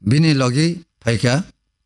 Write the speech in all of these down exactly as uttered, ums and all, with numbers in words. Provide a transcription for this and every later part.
Bini logi phaikha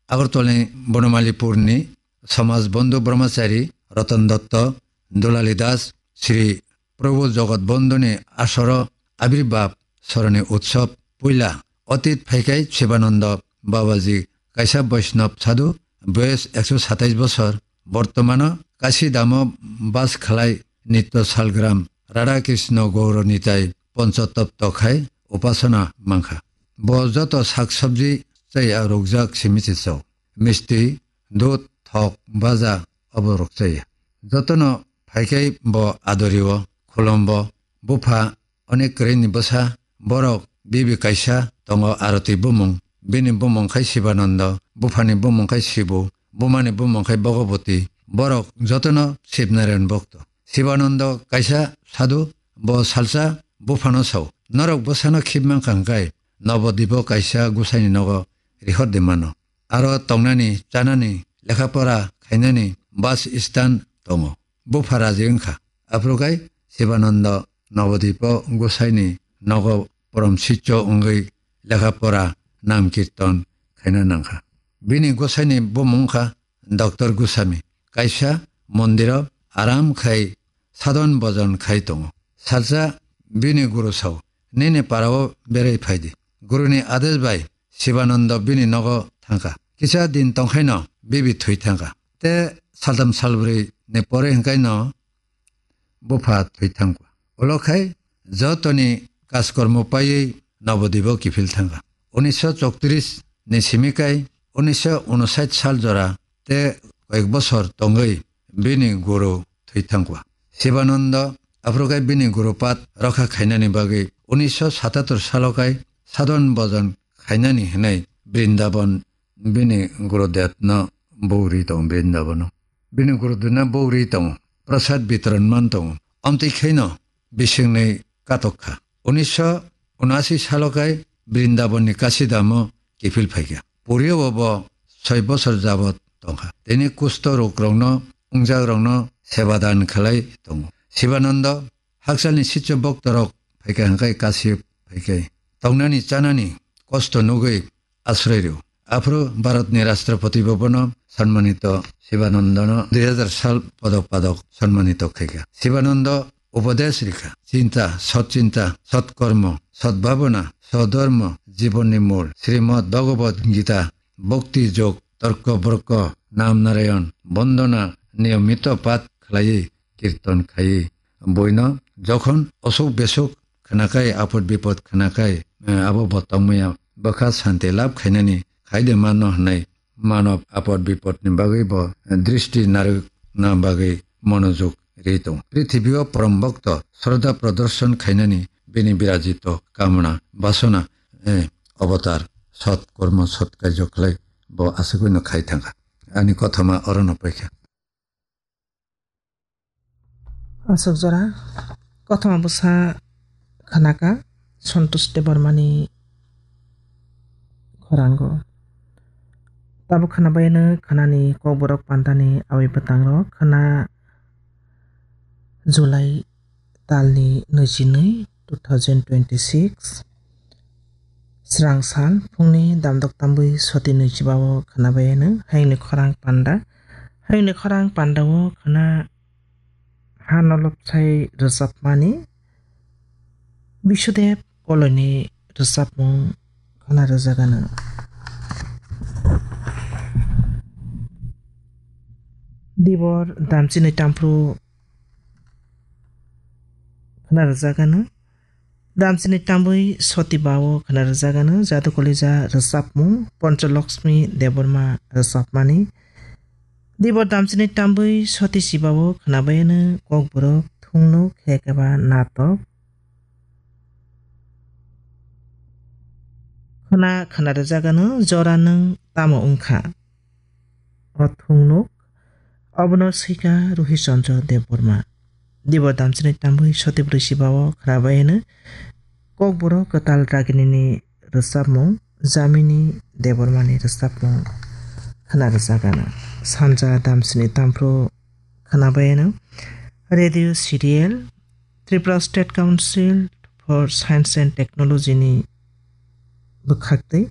Agartalani Bonomalipurni Samaj Bondhu Brahmachari Ratan Dotto, Dulali Das, Sri Prabhu Jagat Bondhuni asoro Abirbab Soroni Utsav puila. Otit phaikhai Shivananda Babaji kaisa Vaishnav sadhu, boyes ekso satais bosor, bortomano Kashi Dhamo bas khlai nitto salgram Radha Krishna Gaura Nitai Panchatattva khai upasana mankha. Bo joto sak sabji chaya rukjak simi se chao. Misti, dudh, thok, baja obo rok chaya. Jotono phaikhai bo adorio, khulumbo, bupha, onek kwrwini bwsa, borok bibi kaisa tongo Arati bumung. Bini bumung khai Shivananda, buphani bumung khai Shibu, bumani bumung khai Bhagavati. Borok jotono Shiv Narayan bhokto. Shivananda kaisa sadhu, bo salsa buphano sao, "Norok bwsano khib mankha hwnkhe Nobodipo kaisa gusaini nogo rihor de mano. Aro tongnani, chanani, lekha pora khainani bas istan tongo." Bupha raji wngkha. Aphuru khai Shivananda Nobodipo gusaini nogo porom sicho wngwi lekha pora nam kirtan khaina nangkha. Bini gusaini bumung wngkha Doctor Goswami. Kaisa mondiro aram khai sadon bojon khai tongo. Salsa bini guru sao, "Nini parao berai phaidi." Guruni adesh bai Shivananda bini nogo thangkha. Kisa din tongkhaino bibi thwi thangkha. Te saltham salbrwi ni pore hwnkhaino bupha thwi thangkha. Ulo khai jotoni kajkormo paiwi Nobodipo kiphil thangkha. Unisho choutrish ni simi kai unisho unosait sal jora te koyek bosor tongwi bini guru thwi thangkha. Shivananda aphuru khai bini guru pat rokha khainani bagwi unisho satatur salo khai sadon bojon khainani hwnwi Brindaban bini guru detno bogri tongo Brindabono. Bini guruduna bogri tongo, prasad bitoron man tongo. Omtwi khaino bisingni katok kha. Unisho unasi salo khai Brindabonni Kasidamo kiphil phaikha. Puriyo bo soi bosor jabot tongkha. Tini kusto rukrokno, wngjakrokno seba dan khlai tongo. Shibananda hakchalni sicho boktorok phaikha hwnkhe Kasi phaikhai. Tongnani chanani kosto nugwi asroi rw. Aphuru Bharatni Rashtrapati bo bono sanmanito Shibanandano dui hazar sal podok padok sanmanito khaikha. Shibananda upodesh rikha, chinta, sot chinta, sot kormo, sot bhabona, sot dhormo, jibonni mul, Srimad Bhagavad Gita, bhakti jog, torko borko, nam narayan, bondona, niyomito pat khlaiwi kirtan khai. Boino jokhon osuk besuk khwnakhai, apod bipod khwnakhai, eh, abo bo tongmaya bwkha santi lab khainani khaide mano hwnwi manob apod bipodni bagwi bo, eh, dristi narwkna bagwi monojog ri tongo. Prithibio porom bhokto sroddha prodorshon khainani bini birajito kamana basona, eh, avatar sot kormo sot kaijo khlai bo aswkwi no khai thangkha. Ani kothoma orono paikha. Aswk jora kothoma bwsa khwnaka Santosh Debbarmani khorango. Tabuk khwnabaino khwnani kokborok pandani aboni bwtangrok khwna July talni nui chi nui, two thousand twenty-six. Srang sal phungni damdok tambwi soti nui chiba o khwnabaino hayungni khorang panda. Hayungni khorang panda o khwna ha nolobsai rwchapmani Bishudev Koloini rwchapmung khwna rwjagano. Dibor damchini tamphru khwna rwjagano. Damchini tambwi soti bao khwna rwjagano. Jadu Kolija rwchapmung Poncholoksmi Debbarma rwchapmani. Dibor damchini tambwi soti sibao khwnabaino kokborok thungnuk hekeba natok. Khwna khwna rwjagano jora nwng tamo wngkha. O thungnuk obono swika Ruhi Chandra Debbarma. Dibor damchini tambwi soti bwrwi sibao khwnabaino kokborok kwtal Raginini rwchapmung, Jamini Debbarmani rwchapmung khwna rwjagano. Sanja damsini tamphru khwnabaino radio serial Tripura State Council for Science and Technology ni bwkhaktwi